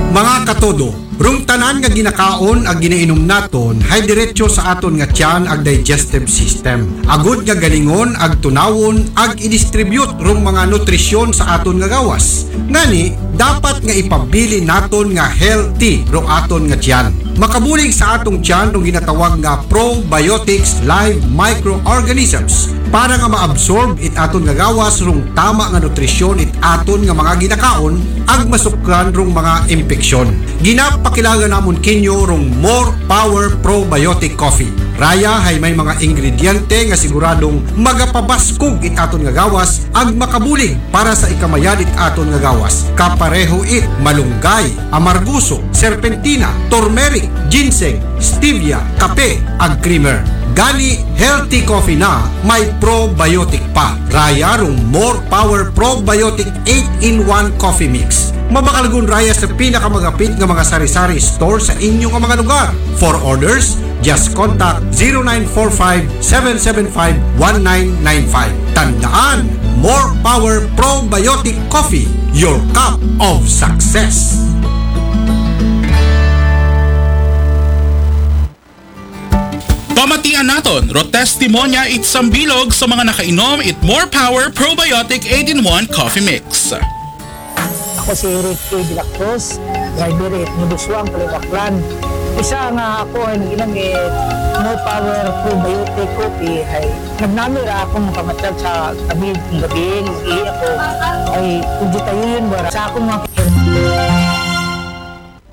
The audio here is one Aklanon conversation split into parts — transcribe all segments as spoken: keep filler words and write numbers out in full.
Mga katodo, rung tanan nga ginakaon ag ginainom naton hay diretso sa aton nga tiyan ag digestive system. Agud nga galingon ag tunawon ag i-distribute rung mga nutrisyon sa aton nga gawas. Ngani, dapat nga ipabilin naton nga healthy rung aton nga tiyan. Makabulig sa atong tiyan rung ginatawag nga probiotics live microorganisms para nga maabsorb it aton nga gawas rung tama nga nutrisyon it aton nga mga ginakaon ag masukran rung mga impeksyon. Ginapakilala namon kinyo rung More Power Probiotic Coffee. Raya hay may mga ingrediente nga siguradong magapabaskog it aton nga gawas ag makabulig para sa ikamayad it aton nga gawas. Kapareho it malunggay, amarguso, serpentina, turmeric, ginseng, stevia, kape, ag creamer. Gani, healthy coffee na may probiotic pa. Raya rung More Power Probiotic eight-in-one Coffee Mix. Mabakalgun raya sa pinakamagapit nga mga sari-sari store sa inyo nga mga lugar. For orders, just contact zero nine four five, seven seven five, one nine nine five. Tandaan, More Power Probiotic Coffee, your cup of success. Pamatian naton, ro testimonya it sambilog sa mga nakainom it More Power Probiotic eight-in-one Coffee Mix. Ako si Eric A. De La Cruz, driver at Nabuswang, Kalibaklan. Isa nga ako ay nag-inom eh, no power probiotic coffee ay nagnami ra akong pamatyag sa gabi kung gabi, nag-ihi ako ay kung di tayo yun, wala sa akong mga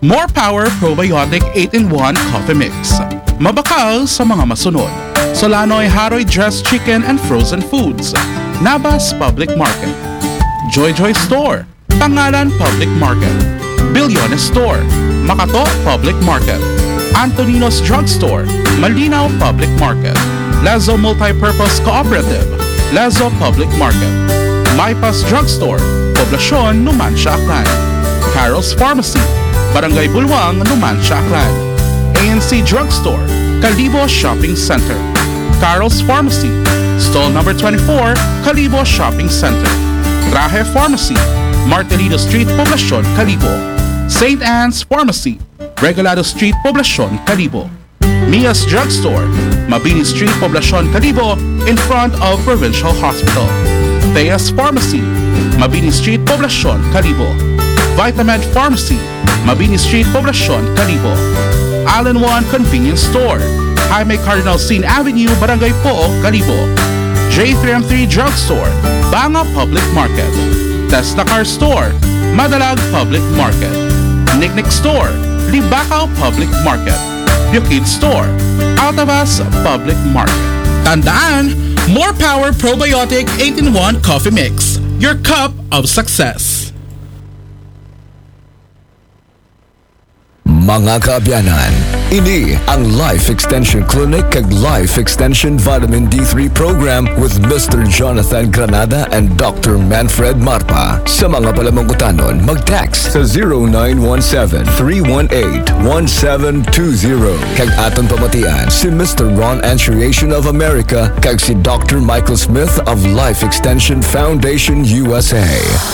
More Power Probiotic eight-in-one Coffee Mix. Mabakal sa mga masunod. Solanoy Haroy Dressed Chicken and Frozen Foods. Nabas Public Market. Joy Joy Store. Pangalan Public Market. Bilyones Store. Makato Public Market. Antonino's Drugstore. Malinaw Public Market. Lazo Multipurpose Cooperative. Lazo Public Market. Maipas Drugstore. Poblacion, Numancia, Aklan. Carol's Pharmacy. Barangay Bulwang, Numancia, Aklan. A N C Drugstore. Kalibo Shopping Center. Carol's Pharmacy. Stall number twenty-four, Kalibo Shopping Center. Rahe Pharmacy. Martelino Street, Poblacion, Kalibo. Saint Anne's Pharmacy. Regalado Street, Poblacion, Kalibo. Mia's Drugstore, Mabini Street, Poblacion, Kalibo, in front of Provincial Hospital. Thea's Pharmacy, Mabini Street, Poblacion, Kalibo. Vitamed Pharmacy, Mabini Street, Poblacion, Kalibo. All-in-One Convenience Store, Jaime Cardinal Sin Avenue, Barangay Pook, Kalibo. J three M three Drugstore, Banga Public Market. Tesla Car Store, Madalag Public Market. Nicknick Store, Libacao Public Market. Bukid Store, Altavas Public Market. Tandaan, More Power Probiotic eight-in-one Coffee Mix. Your cup of success. Mga kaabyanan, ini ang Life Extension Clinic kag Life Extension Vitamin D three Program with Mister Jonathan Granada and Doctor Manfred Marpa. Sa mga palamangkutanon, mag-text sa zero nine one seven, three one eight, one seven two zero. Kag aton pamatian si Mister Ron Antriation of America kag si Doctor Michael Smith of Life Extension Foundation U S A.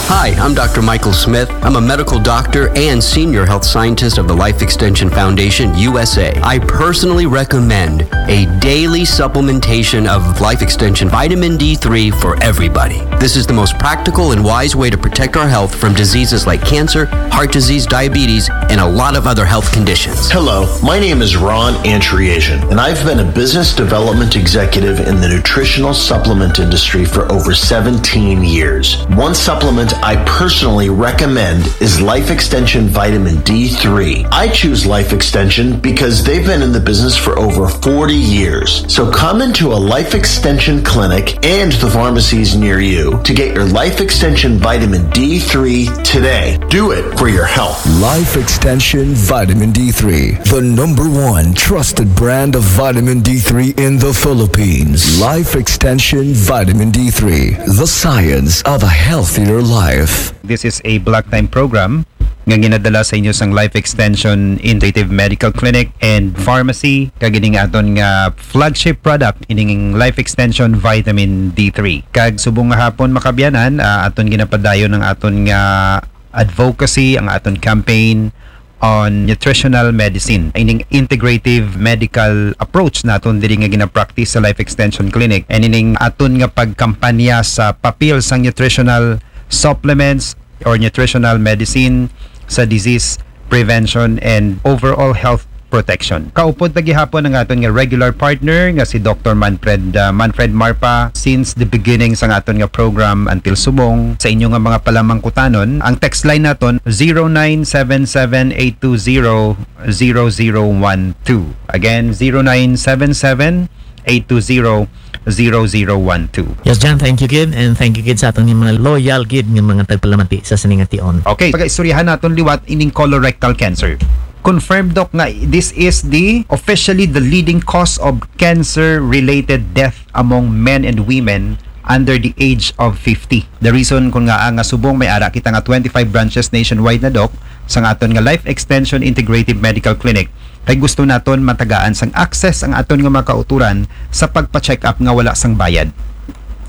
Hi, I'm Doctor Michael Smith. I'm a medical doctor and senior health scientist of the Life Extension Foundation U S A. I personally recommend a daily supplementation of Life Extension Vitamin D three for everybody. This is the most practical and wise way to protect our health from diseases like cancer, heart disease, diabetes, and a lot of other health conditions. Hello, my name is Ron Antriation, and I've been a business development executive in the nutritional supplement industry for over seventeen years. One supplement I personally recommend is Life Extension Vitamin D three. I choose Life Extension because they've been in the business for over forty years. So come into a Life Extension clinic and the pharmacies near you to get your Life Extension Vitamin D three today. Do it for your health. Life Extension Vitamin D three, the number one trusted brand of vitamin D three in the Philippines. Life Extension Vitamin D three, the science of a healthier life. This is a block time program nga ginadala sa inyo sang Life Extension Integrative Medical Clinic and Pharmacy, kag ini nga aton nga flagship product, ining Life Extension Vitamin D three. Kag subong nga hapon, mga kaabyanan, ah, aton ginapadayon ang aton nga advocacy, ang aton campaign on nutritional medicine. Ining integrative medical approach naton diri nga gina-practice sa Life Extension Clinic. And ining aton nga pagkampanya sa papel sang nutritional supplements or nutritional medicine sa disease prevention and overall health protection. Kaupod ta gihapon ang aton nga regular partner nga si Doctor Manfred, uh, Manfred Marpa since the beginning sa aton nga program until subong. Sa inyo nga mga palamangkutanon, ang text line naton zero nine seven seven eight two zero zero zero one two. Again, zero nine seven seven eight two zero zero zero one two. Yes, Jan, thank you, kid. And thank you, kid, sa aton mga loyal, kid, nga mga tagpalamati sa sining ation. Okay, pagaistoryahan naton liwat ining colorectal cancer. Confirmed, Doc, nga this is the officially the leading cause of cancer-related death among men and women under the age of fifty. The reason kun nga nga subong may ara kita nga twenty-five branches nationwide na, Doc, sa aton nga Life Extension Integrative Medical Clinic, kay gusto naton matagaan sang access ang aton nga mga kauturan sa pagpa-check up nga wala sang bayad.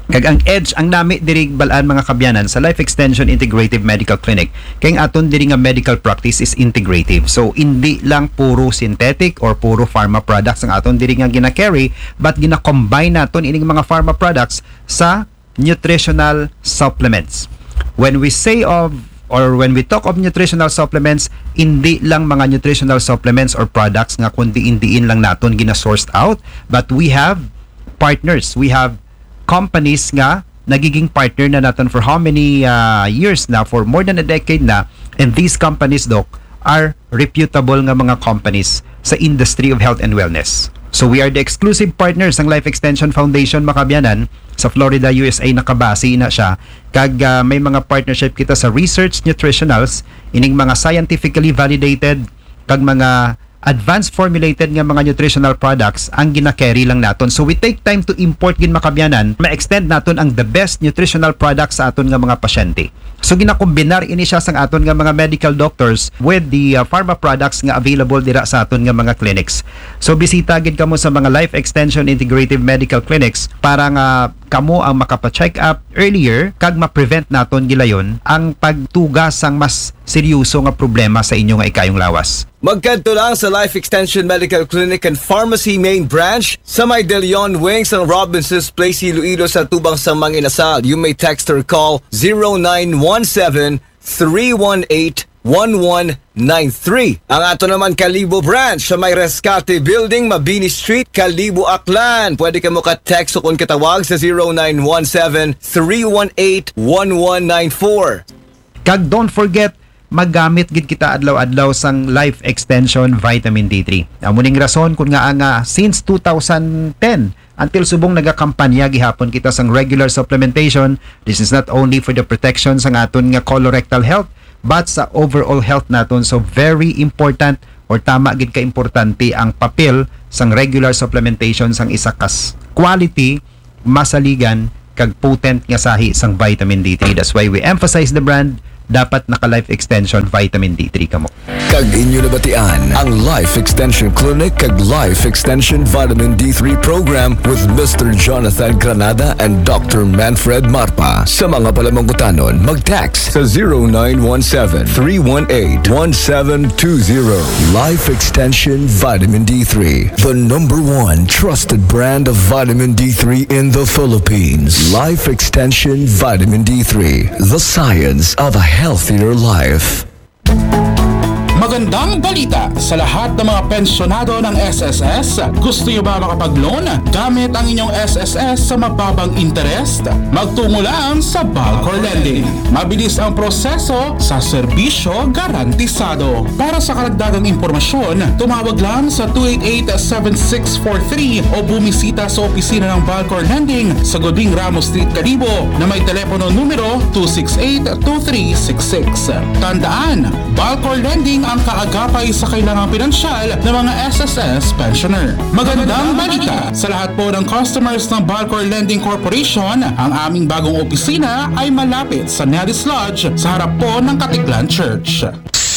Kag ang edge, ang nami diri bal-an, mga kabyanan, sa Life Extension Integrative Medical Clinic, kay ang aton diri nga medical practice is integrative. So, hindi lang puro synthetic or puro pharma products ang aton diri nga gina-carry, but gina-combine naton ining mga pharma products sa nutritional supplements. When we say of or when we talk of nutritional supplements, hindi lang mga nutritional supplements or products nga kun diin-diin lang naton gina-sourced out, but we have partners, we have companies nga nagiging partner na naton for how many uh, years na, for more than a decade na, and these companies, Doc, are reputable nga mga companies sa industry of health and wellness. So we are the exclusive partners ng Life Extension Foundation, mga kabyanan, sa Florida, U S A nakabase na siya. Kag uh, may mga partnership kita sa research nutritionals, ining mga scientifically validated kag mga advanced formulated nga mga nutritional products ang gina-carry lang naton. So we take time to import gid, mga kabyanan, ma-extend naton ang the best nutritional products sa aton nga mga pasyente. So ginakombinar ini siya sang aton nga mga medical doctors with the uh, pharma products nga available dira sa aton nga mga clinics. So bisita gid kamo sa mga Life Extension Integrative Medical Clinics para nga kamo ang makapa-check up earlier kag ma-prevent naton gilayon ang pagtuga sang mas seryoso nga problema sa inyo nga ikayong lawas. Magkadto lang sa Life Extension Medical Clinic and Pharmacy Main Branch sa may De Leon Wing sang Robinson's Place, Iloilo, sa tubang sang mga inasal. You may text or call zero nine one seven, three one eight, one one nine three. Ang ato naman Kalibo Branch sa may Rescate Building, Mabini Street, Kalibo, Aklan. Pwede kamo ka-text o kun katawag sa zero nine one seven, three one eight, one one nine four. Kag don't forget, magamit gid kita adlaw-adlaw sang Life Extension Vitamin D three. Amo ning rason kun nga nga since two thousand ten until subong nagakampanya gihapon kita sang regular supplementation. This is not only for the protection sang aton nga colorectal health, but sa overall health naton. So very important or tama gid ka importante ang papel sang regular supplementation sang isa kas quality, masaligan, kag potent nga sahi sang vitamin D three. That's why we emphasize the brand. Dapat naka Life Extension Vitamin D three kamo. Kag inyo nabatian ang Life Extension Clinic kag Life Extension Vitamin D three Program with Mister Jonathan Granada and Doctor Manfred Marpa. Sa mga palamangkutanon, mag-text sa zero nine one seven, three one eight, one seven two zero. Life Extension Vitamin D three, the number one trusted brand of vitamin D three in the Philippines. Life Extension Vitamin D three, the science of a healthier life. Magandang balita sa lahat ng mga pensyonado ng S S S. Gusto niyo ba makapag-loan gamit ang inyong S S S sa mababang interest? Magtungo lang sa Balcor Lending. Mabilis ang proseso sa serbisyo garantisado. Para sa karagdagang impormasyon, tumawag lang sa two eight eight, seven six four three o bumisita sa opisina ng Balcor Lending sa Goding Ramos Street, Kalibo, na may telepono numero two six eight, two three six six. Tandaan, Balcor Lending ang kaagapay sa kailangang pinansyal ng mga S S S pensioner. Magandang balita sa lahat po ng customers ng Balcor Lending Corporation. Ang aming bagong opisina ay malapit sa Nelly's Lodge sa harap po ng Caticlan Church.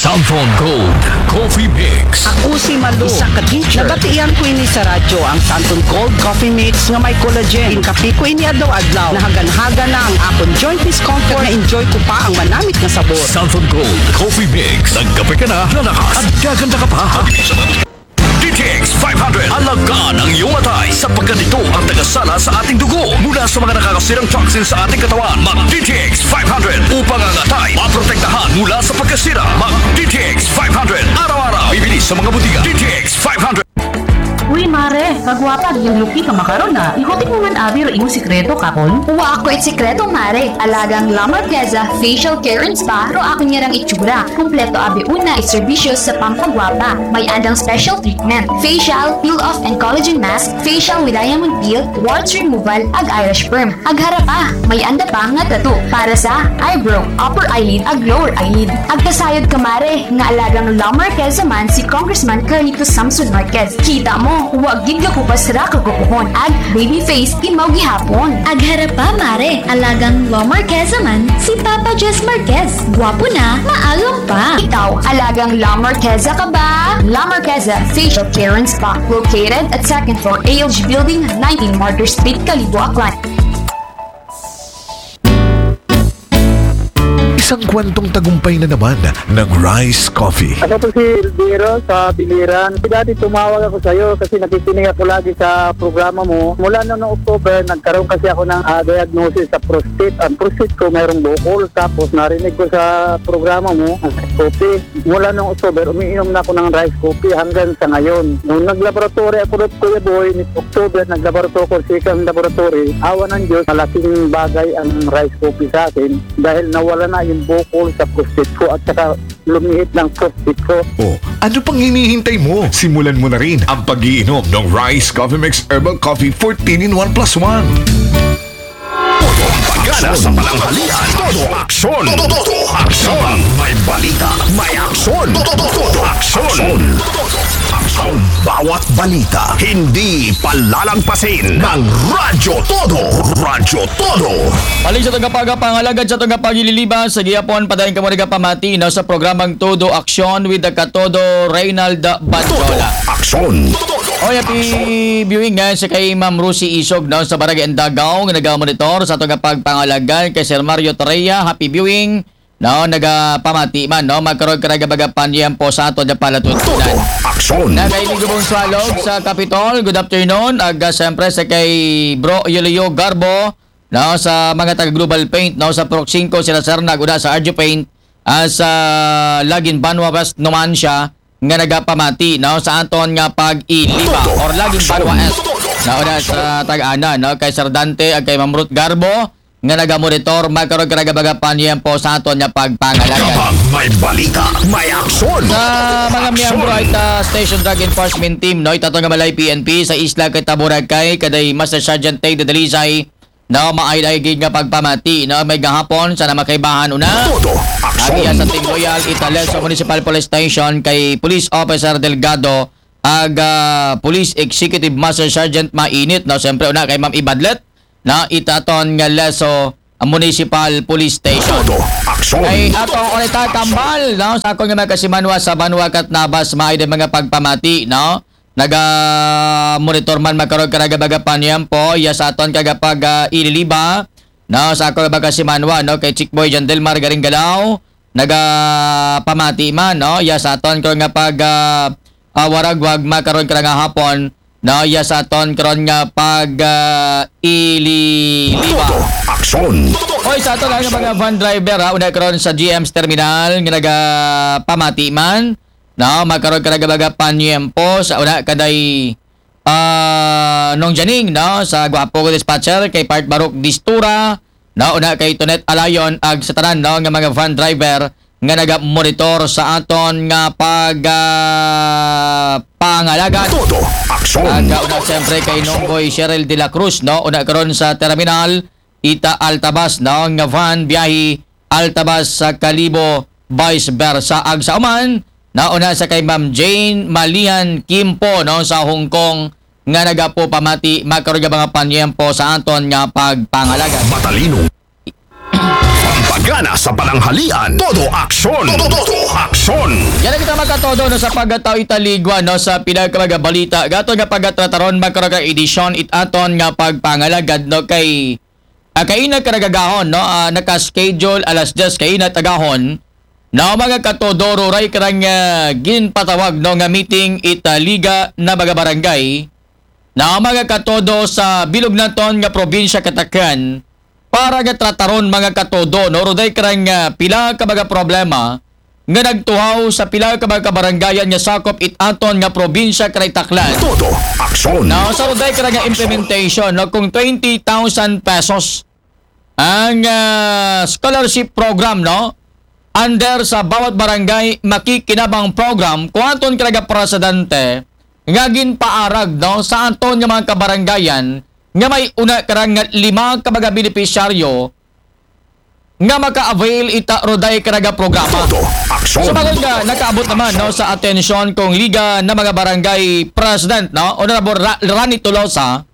Santon Gold Coffee Mix. Ako si Malu, isa ka teacher. Nabatian ko ini sa radyo, ang Santon Gold Coffee Mix nga may collagen. Inkape ko ini adlaw-adlaw. Nahagan-hagan na ang akon joint discomfort. Na-enjoy ko pa ang manamit nga sabor. Santon Gold Coffee Mix. Nagkape ka na, lalakas at gaganda ka pa. D T X five hundred. Alagaan ang iyong atay sapagkat ito ang tagasala sa ating dugo mula sa mga nakakasirang toxin sa ating katawan. Mag D T X five hundred upang ang atay maprotektahan mula sa pagkasira. Mag D T X five hundred araw-araw. Bibili sa mga butika. D T X five hundred. Uy, mare, kagwapa, giyang luki ka makaron na. Ihutik mo man abi ro imong sikreto, kapon? Wa ako it sikreto, mare. Alagang La Marqueza Facial Care and Spa ro ako niyarang itsura. Kumpleto abi una it serbisyo sa pampagwapa. May andang special treatment. Facial, peel off and collagen mask, facial with diamond peel, warts removal, ag eyelash perm. Ag harapa, may anda pa nga tattoo para sa eyebrow, upper eyelid, ag lower eyelid. Ag kasayod ka, mare, nga alagang La Marqueza man si Congressman Carlito Samson Marquez. Kita mo, wa gid gakupas ra kagupuhon. Ag baby face, imaw gihapon. Ag harapa, mare, alagang La Marqueza man si Papa Jess Marquez. Gwapo na, maalam pa. Ikaw, alagang La Marqueza ka ba? La Marqueza Facial Care and Spa, located at second floor A L G Building, nineteen Martyr Street, Kalibo, Aklan. Isang kwentong tagumpay na naman ng Rice Coffee. Ako po si Elviro sa Biliran. Dati tumawag ako sa'yo kasi nakikinig ako lagi sa programa mo. Mula noong October, nagkaroon kasi ako ng ah, diagnosis sa prostate. Ang prostate ko mayroong bukol. Tapos narinig ko sa programa mo, ang coffee. Mula noong October, umiinom na ako ng rice coffee hanggang sa ngayon. Nung naglaboratory ako doon, Kuya Boy, ni October, naglaboratory ako sa second laboratory. Awa ng Diyos, malaking bagay ang rice coffee sa akin dahil nawala na yung bukol sa prostate ko at saka lumihit ng prostate ko. O, ano pang hinihintay mo? Simulan mo na rin ang pag-iinom ng Rice Coffee Mix Herbal Coffee fourteen in one plus one. Pagana sa pananghalian. Todo aksyon. Todo aksyon. May balita. May aksyon. Todo aksyon. Todo aksyon. Bawat balita. Hindi palalagpasin ng Radyo Todo. Radyo Todo. Paling sa tagapagapangalagad sa tagapagililiba sa gihapon, padayon kamo nagapamati no, sa programang Todo Aksyon with the Katodo Reynald Bandola. Aksyon. Oy, happy viewing nga sa kay Ma'am Rosie Isog no, sa Barangay Andagaw nga nagamonitor sa atong pagpangalagad kay Sir Mario Torreya. Happy viewing. No, nagapamati man no, magkaroon ka nagabagapan po sa ato na palatuntunan. Aksyon. Na kay Nigo Bonsualog sa Capitol, good afternoon. Ag ah, siyempre sa kay Bro Yulio Garbo, no, sa mga taga Global Paint, no, sa Proxinco, sila Sir naguna sa Arjo Paint, ah, sa Lagin Banwa West Numancia, nga nagapamati, no, sa aton nga pag-iliba or Lagin Banwa West. Nauna sa Tag-ana, no, kay Sir Dante ag kay Ma'am Ruth Garbo, nga nagamonitor, magkaroon ka nagabagapan yan po sa aton nga pagpangalagad. Kapag may balita, may aksyon. Sa mga miyembro ay ta Station Drug Enforcement Team, no, itato nga balay P N P sa isla kay Taboracay, kaday Master Sergeant Tay Dadalisay, no, maay-ay gid nga pagpamati, no, may gahapon sa namakaibahan una. Todo Ag iya aksyon. Sa Team Royal, Italeso Municipal Police Station kay Police Officer Delgado, ag ah, Police Executive Master Sergeant Mainit, no, siyempre una kay Ma'am Ibadlet, no, itaton nga Leso Municipal Police Station. Todo aksyon. Kay atong Orita Kambal, no, sa akong nga mga kasimanwa sa Banwa Katnabas, maay din mga pagpamati, no? Naga monitor man makaroon ka nagabaga paniyampo, iya sa aton kagapag ah, ililiba, no, sa akong mga kasimanwa, no, kay Chick Boy John Delmar Garinggalaw, naga pamati man, no, iya sa aton ko nga pag ah, ah, waragwag makaroon ka nga hapon, no, iya sa aton karon nga pag ah, ililiba. Todo aksyon. Oy, sa ato lang nga mga van driver ha, una karon sa G M's terminal nga nagapamati man, no, makaroon ka nagabaga paniyempo sa una kaday ah, Nong Janing, no, sa Guapo ko dispatcher kay Part Barok Distura, no, una kay Tonet Alayon ag sa tanan, no, nga mga van driver nga nagamonitor sa aton nga pag ah, pangalagad. Todo aksyon. Ag ah, una siyempre kay Nonggoy Cheryl de la Cruz, no, una karon sa terminal, ita Altabas, no, nga van biyahe Altabas sa Kalibo, vice versa. Ag sa uman, nauna sa kay Ma'am Jane Malian Kimpo, no, sa Hong Kong, nga nagapo pamati makaroon nga mga panyempo sa aton nga pagpangalagad. Matalino. Pampagana sa pananghalian. Todo aksyon. Todo aksyon. Yan ang kita magkatodo, no, sa pagkatao italigwa, no, sa pinakamagabalita. Gato nga pagkatrataron makaroon ka edisyon it aton nga pagpangalagad, no, kay ah, kaina karagagahon, no, ah, naka-schedule alas diyes kaina tagahon, Na mga katodo, ruray karang ah, ginpatawag no nga meeting ita liga na mga barangay. Na mga katodo, sa bilog naton nga probinsya Katakan, para nga trataron mga katodo no, ruday karang ah, pila ka mga problema nga nagtuhaw sa pila ka mga kabarangayan nga sakop it aton nga probinsya kay Taclan. Todo aksyon. Now, sa ruday karang implementation no, kung twenty thousand pesos ang ah, scholarship program no, under sa bawat barangay makikinabang program, kung aton karang presidente nga ginpaarag no sa aton nga mga kabarangayan nga may una karang nga lima ka mga benepisyaryo nga maka-avail ita ruday karang programa. Todo aksyon. Sa bagay nga nakaabot naman no sa atensyon kung liga na mga barangay president no, Honorable Ra- Rani Tolosa,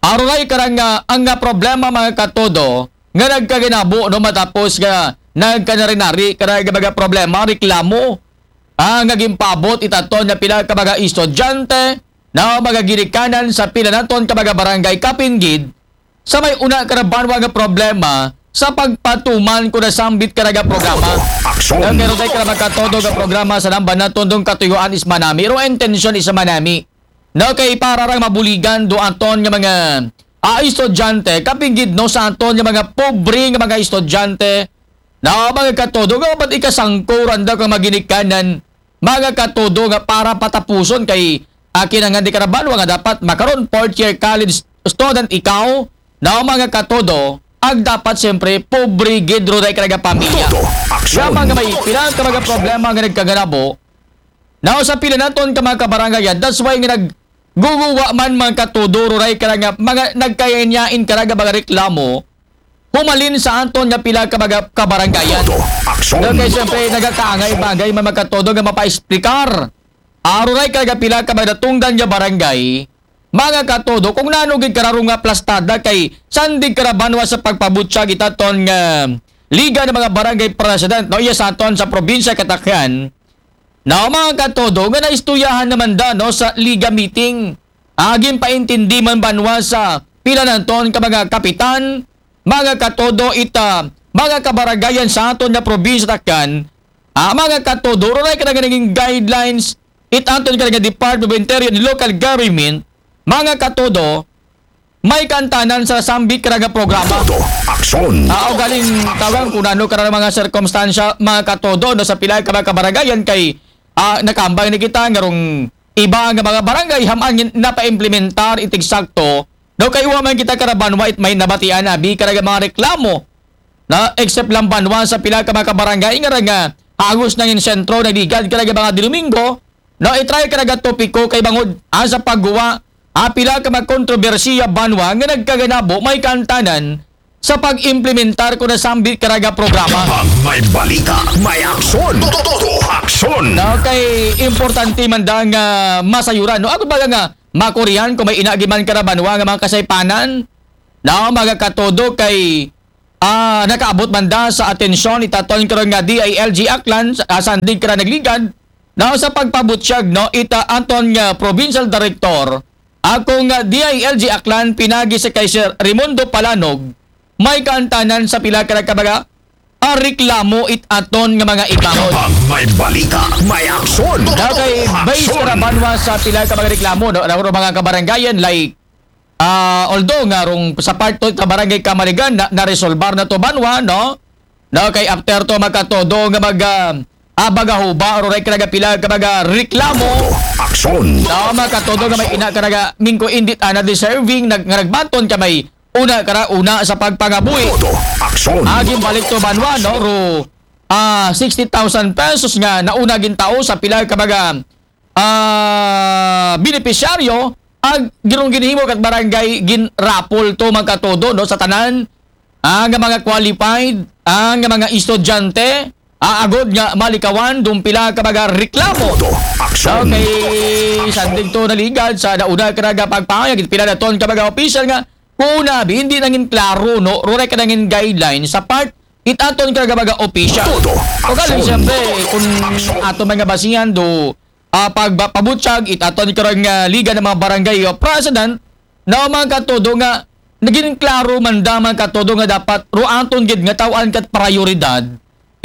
aruray karang nga ang nga problema mga katodo nga nagkaginabo no matapos nga nagkanarinari karang nga mga problema, reklamo ah, nga ginpaabot itaton nga pila ka mga estudyante na mga ginikanan sa pila naton ka mga barangay kapin gid sa may una ka na banwa nga problema sa pagpatuman ko na sambit ka nga programa. Aksyon. Ang meron tayo ka mga katodo nga programa sa namba naton dong katuyuan is manami. Pero intensyon is manami. No, kay para rang mabuligan do aton nga mga ah, estudyante, kapin gid no sa aton nga mga pobre nga mga estudyante, na mga katodo nga ba't ikasangko randa kang maginikanan, mga katodo nga para patapuson kay akin ang hindi karabanwa nga dapat makaron fourth year college student ikaw, na mga katodo, ang dapat siyempre pobre gid ruday ka nga pamilya. Todo aksyon. Nga mga may pila ka mga problema nga nagkaganabo, na sa pila naton ka mga kabarangayan, that's why nga nagguguwa man mga katodo, ruray ka nga mga nagkayanyain ka nga mga reklamo, humalin sa aton nga pila ka mga kabarangayan. Todo aksyon. Okay, siyempre, nagakaangay-bagay man mga katodo nga mapaexplikar. Aruray ka nga pila ka mga natungdan nga barangay, mga katodo, kung nano gid kararo nga plastada kay sandig karabanwa sa pagpabutyag itaton nga liga ng mga barangay president no, iya sa aton sa probinsya Katakan, na mga katodo nga naistuyahan naman da no, sa liga meeting. Agin paintindi man banwa sa pila naton ka mga kapitan, mga katodo ita, mga kabaragayan sa aton nga probinsya Takan, ah, mga katodo, ruray ka na naging guidelines it aton ka nga Department of Interior and Local Government, mga katodo, may kantanan sa sambit ka nga programa. Todo aksyon. Ah, o galing tawag kung ano ka mga sirkumstansya, mga katodo, no, sa pila ka mga kabaragayan kay ah, nakambay ni kita nga rong iba nga mga barangay haman nga napaimplementar itig sakto, no, kay wa man kita karabanwa it may nabatian abi ka nga mga reklamo na except lang banwa sa pila ka mga kabarangay nga nga hagos nangin sentro na ligad ka nga mga Domingo, no, itry ka nga topiko kay bangod ah, sa pagguwa ah, pila ka mga kontrobersiya banwa nga nagkaganabo may kantanan sa pag-implementar ko na sambit ka nga programa. Pag may balita, may aksyon. Todo aksyon. No, kay importante man da nga masayuran, no? Ako ba nga makurihan kung may inagi man karabanwa nga mga kasaypanan? No, mga katodo kay ah, nakaabot man da sa atensyon itaton karon nga D I L G Aklan sa ah, sandig ka nagligad, no, sa pagpabutyag, no, ita aton nga provincial director, akong nga D I L G Aklan pinagi sa kay Sir Raimundo Palanog, may kantanan sa pila ka ka mga ah, reklamo it aton nga mga ibangod. Pag may balita, may aksyon. Dagay based Aksyon. Karabanwa sa pila ka mga reklamo, no? Ano mga kabarangayan, like, ah, although nga rong sa part to sa barangay Kamaligan na naresolbar na to banwa, no? No, kay after to magkatodo nga mag ah, ah, bagahuba, ruray ka nga pila ka mga reklamo. Aksyon. No, magkatodo nga may ina ka nga mingko indit ana deserving nag nga nagbaton ka may una kara una sa pagpangabuhi. Todo aksyon. Agin balik to banwa, no? Ro ah, sixty thousand pesos nga nauna gintao sa pila ka mga ah, benepisyaryo, ang girong ginhimo kat barangay ginrapol to magkatodo, no, sa tanan ang mga qualified, ang mga estudyante, aagod nga malikawan dong pila ka mga reklamo. Todo aksyon. Okay, sandig to naligad sa nauna ka nga pagpahayag pila na ton ka mga opisyal nga kuna bi hindi nangin klaro, no, ruray ka nangin guideline sa part it aton ka nga mga opisyal. Todo O galing aksyon. siyempre kung ato mga basihan do ah, pagpabutyag it aton karang nga liga ng mga barangay o president na mga katodo nga naging klaro man da mga katodo nga dapat ruaton gid nga tawaan kat prioridad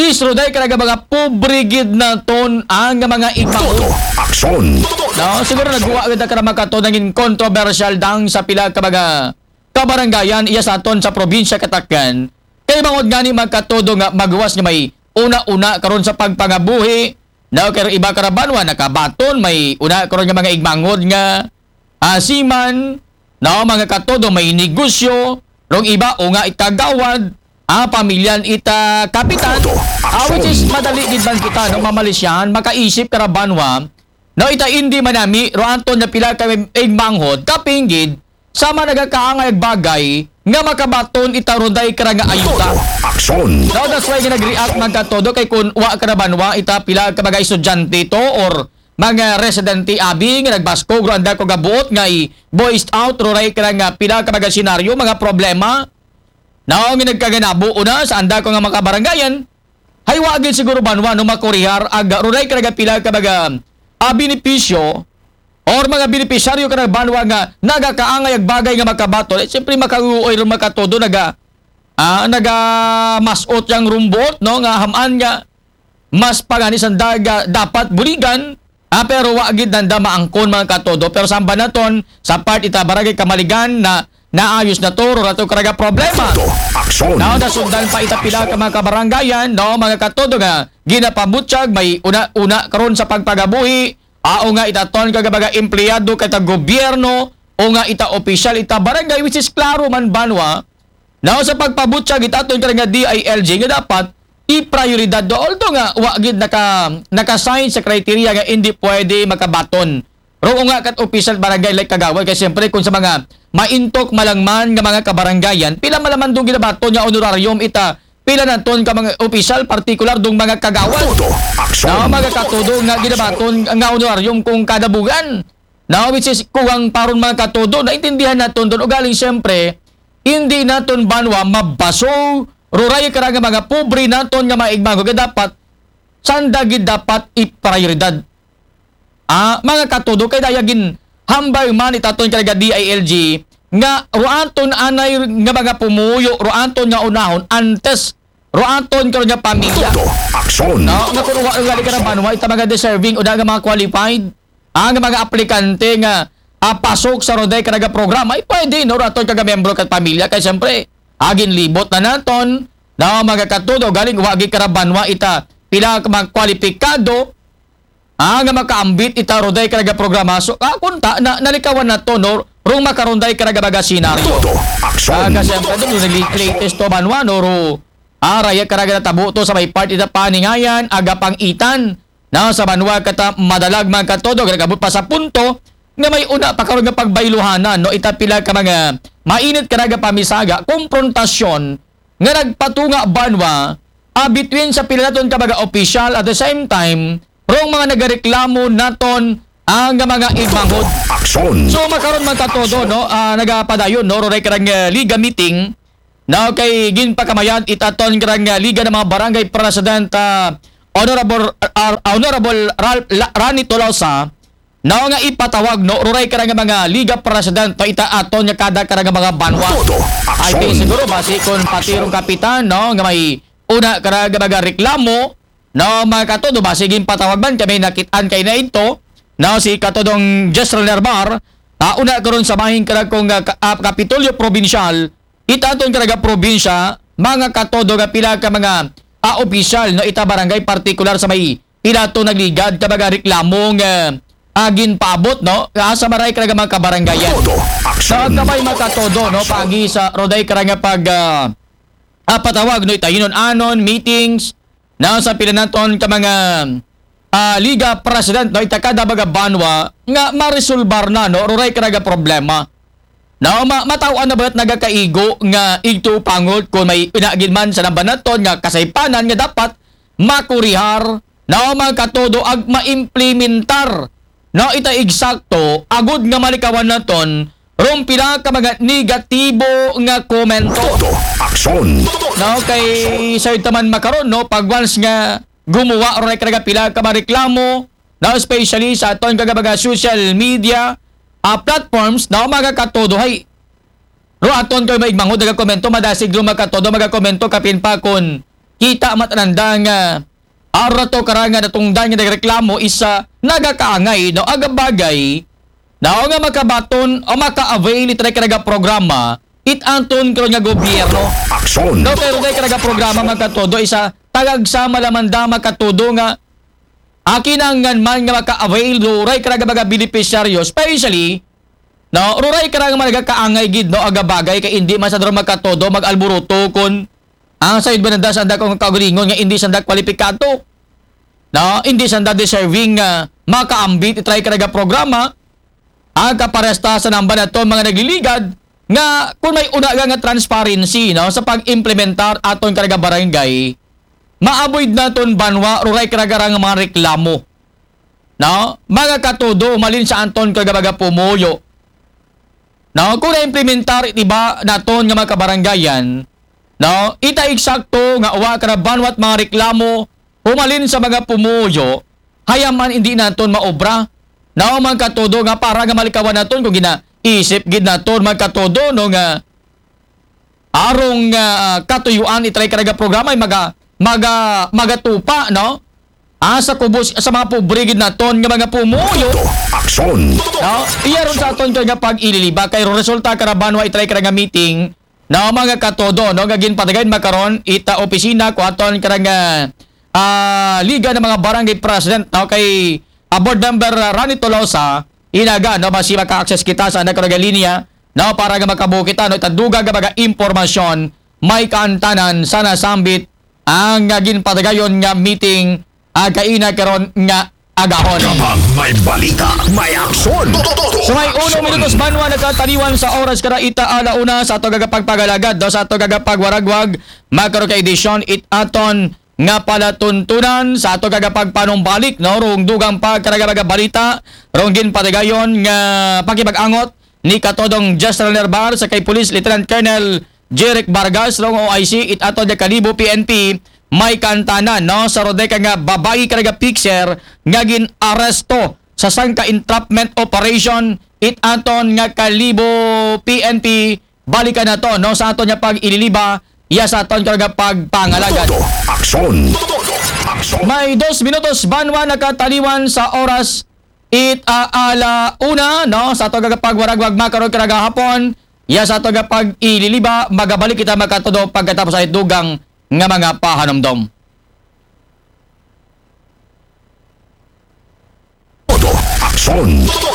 At least, Roday, karaga mga pobre gid naton ang mga igmahod. Todo aksyon. No, siguro nagwa gid ka na mga katodo nangin kontrobersyal dang sa pila ka mga kabarangayan iya sa aton sa probinsya Katakan. Kay bangod gani mga katodo nga magwas nga may una-una karon sa pagpangabuhi. No, kay iba ka ra banwa nakabaton may una karon nga mga igmahod nga asiman, no, mga katodo may negosyo, rong iba o nga ikagawad, ah, pamilyan ita kapitan, ah, which is madali gid man kita, no, mamalisyahan, makaisip ka ra banwa, no, ita hindi manami, ro anton na pila ka igmanghod, kapinggid, sama nagakaangay ag bagay, nga makabaton ita roday ka ra nga ayuda. Todo aksyon. No, that's why nga nag-react man ka todo kay kun wa ka ra banwa, ita pila ka mga estudyante to or mga residente abi nga nagbaskog ro anda ko gabuot nga i-voiced out roray ka ra nga pila ka mga senaryo, mga problema. Naong nga nagkaganabo una sa anda ko nga mga kabarangayan, hay wa gid siguro banwa no makurihar ag roray ka ra nga pila ka mga, ah, benepisyo or mga benepisyaryo ka ra banwa nga nagakaangay ag bagay nga makabaton. Eh, siyempre, makauoy ron makatodo naga, ah, nagamasot yang rumbot, no, nga hamaan nga mas pagani sanda dapat buligan, ah, pero wa gid nanda maangkon mga katodo. Pero samba naton sa part ita barangay Kamaligan na naayos na to, ro rato karaga problema. Todo aksyon. Now, nasundan pa ita pila ka mga kabarangayan, no, mga katodo nga ginapabutyag, may una-una karon sa pagpagabuhi, ah, o nga ita ton kaga mga empleyado kay ta gobyerno, o nga ita opisyal ita barangay, which is klaro man banwa, now, sa pagpabutyag itaton ka nga D I L G nga dapat i-prioridad do. Although nga wa gid naka, naka-sign sa criteria nga hindi pwede makabaton. Ro nga kat opisyal barangay like kagawad kay siyempre kung sa mga maintok malangman nga mga kabarangayan, pila malaman dong ginabaton nga honorarium ita, pila naton ka mga opisyal, partikular dong mga kagawad. Todo aksyon. Na mga katodo nga ginabaton nga honorarium kung kada buwan. Now, which is kuwang paron mga katodo, naintindihan naton doon. Ugaling siyempre, hindi naton banwa mabaso, ruray ka ra nga mga pobre naton nga mga igmago, kaya dapat, sanda gid dapat iprioridad. Ah, mga katodo, kay dayagin hambay man itaton ka nga D I L G, nga ruaton anay nga mga pumuyo, ruaton nga unahon, antes ruaton karon nga pamilya. Todo aksyon. No, nga kung wa gali ka na banwa, ita mga deserving o nga mga qualified, ang mga aplikante nga, ah, pasok sa Roday Karaga programa, ay pwede, no, raton kaga membro kat pamilya, kay siyempre, agin libot na naton, na mga katodo, galing wagi karabanwa ita, pila ka mga kwalipikado, ah, nga makaambit ita Roday Karaga programa. So, ah, kunta, na, nalikawan na to, no, rong makaronday karaga baga senaryo. Todo aksyon. Ah, kasi ang kadong, latest to banwa, no, ro, ah, raya karaga na tabo to sa may part ita paningayan, aga pang itan, na sa banwa kata madalag mga katodo, nagabot pa sa punto nga may una pa karon nga pagbayluhanan, no? Ita pila ka mga mainit karaga pamisaga, komprontasyon nga nagpatunga banwa, ah, between sa pila naton ka mga opisyal at the same time, rong mga nagareklamo naton ang mga igmahod. Aksyon. So, makaron mga katodo, no? Ah, nagapadayon, no? Roray karang, ah, liga meeting, no, kay ginpakamayan itaton karang, ah, Liga ng mga Barangay President, ah, Honorable, ah, Honorable Ralph La-, Rani Tolosa, no, nga ipatawag, no, ruray karang mga Liga President, no, ita aton nga kada karang mga banwa. Todo aksyon. I think siguro, basi kung pati rong kapitan, no, nga may una karang mga reklamo, no, mga katodo, basi ginpatawag man kami nakitaan kay na ito, no, si katodong Jezreel Nerbar, ah, una karon sa mahing karang kong, ah, ka-, ah, Kapitolyo Probinsyal, itaton karaga probinsya, mga katodo nga pila ka mga, ah, opisyal, no, ita barangay, partikular sa may pila to nagligad ka mga reklamo nga, ah, ginpaabot, no, ah, sa maray karaga mga kabarangayan. Todo aksyon. Sa kamay mga katodo, no, pagi sa roday karang pag, ah, ah, patawag, no, ita hinon-anon, meetings, na sa pila naton ka mga, ah, liga president, no, ita kada mga banwa nga maresolbar na, no, ruray karaga problema. No, ma-, mataw-an na ba't nagakaigo nga igto pangot kung may inagin man sa namba naton nga kasaypanan nga dapat makurihar, no, mga katodo ag maimplementar, no, ita eksakto, agud nga malikawan naton, rong pila ka mga negatibo nga komento. Todo aksyon. No, kay Sir Taman Makaron, no, pag once nga gumuwa, ruray karaga pila ka mga reklamo, no, especially sa aton kaga mga social media, ah, platforms, no, mga katodo, hay, ro aton kayo maigmangod, nagakomento, madasig ro mga katodo, magakomento, kapin pa kun kita matananda nga aro to karang nga natungdan nga nagreklamo is nagakaangay, no, aga bagay, no, nga makabaton o maka-avail itray karaga programa, it anton karon nga gobyerno. Aksyon. No, pero itray karaga programa, mga katodo, is tagagsama lamanda, mga katodo, nga akinangan man nga maka-avail, ruray karaga mga benepisyaryo, especially, no, ruray karaga mga nagakaangay gid, no, aga bagay, kay hindi man sa daro, mga katodo, mag-alburuto kun ang sayod ba nanda sanda kung kaugalingon nga hindi sanda kwalipikado, no, hindi sanda deserving nga makaambit itray karaga programa, ang kaparesta sa namba naton mga nagliligad, nga kung may una nga, nga transparency, no, sa pag-implementar aton karaga barangay, ma-avoid naton banwa ruray karaga nga mga reklamo, no, mga katodo, malin sa anton karaga mga pumuyo, no, kung na-implementar, di ba, naton nga mga kabarangayan, no, ita eksakto nga wa karabanwat mga reklamo humalin sa mga pumuyo, hayaman hindi naton maobra, no, mga katodo, nga para nga malikawan naton kung ginaisip gid naton, mga katodo, no, nga arong ah, katuyuan itray karaga programa ay maga maga magatupa, no, ah, sa kubos sa mga pobre gid naton nga mga pumuyo. Aksyon. No, iya ron sa aton karaga pag-ililiba kay ro resulta karabanwa itray karaga meeting, no, mga katodo, no, nga ginpatagayon makaron ita opisina ko aton karaga ah, Liga ng mga Barangay President, no, kay ah, Board Member ah, Rani Tolosa, inaga, no, basi maka-access kita sa anak karaga linya, no, para nga makabuo kita, no, ita dugang nga mga impormasyon, may kaantanan sa nasambit ang nga ginpatagayon nga meeting, ah, kaina karon nga agahon. Kapag may balita, may aksyon. Sa may uno minutos banwa nakataliwan sa oras kara ita ala una sa ato karaga pagpagalagad, no, sa ato karaga pagwaragwag, makaron ka edisyon it aton nga palatuntunan sa ato karaga pagpanumbalik, no, rong dugang pa karaga mga balita, rong ginpatagayon nga pakipag-angot ni katodong Jester Nerbar sa kay Police Lieutenant Colonel Jeric Vargas, rong O I C, it ato nga Kalibo P N P, may kaantanan, no, sa ro deka nga babayi karaga fixer nga gin-aresto sa sangka entrapment operation, it aton nga Kalibo P N P, balikan naton, no, sa aton nga pag-ililiba, iya sa aton karaga pagpangalagad. Todo aksyon. Todo aksyon. May dos minutos banwa nakataliwan sa oras it ah, ala una, no, sa aton karaga pagwaragwag makaron karaga hapon, iya sa aton nga pag-ililiba, magabalik kita mga katodo pagkatapos sa it dugang nga mga pahanumdom. Todo aksyon. Todo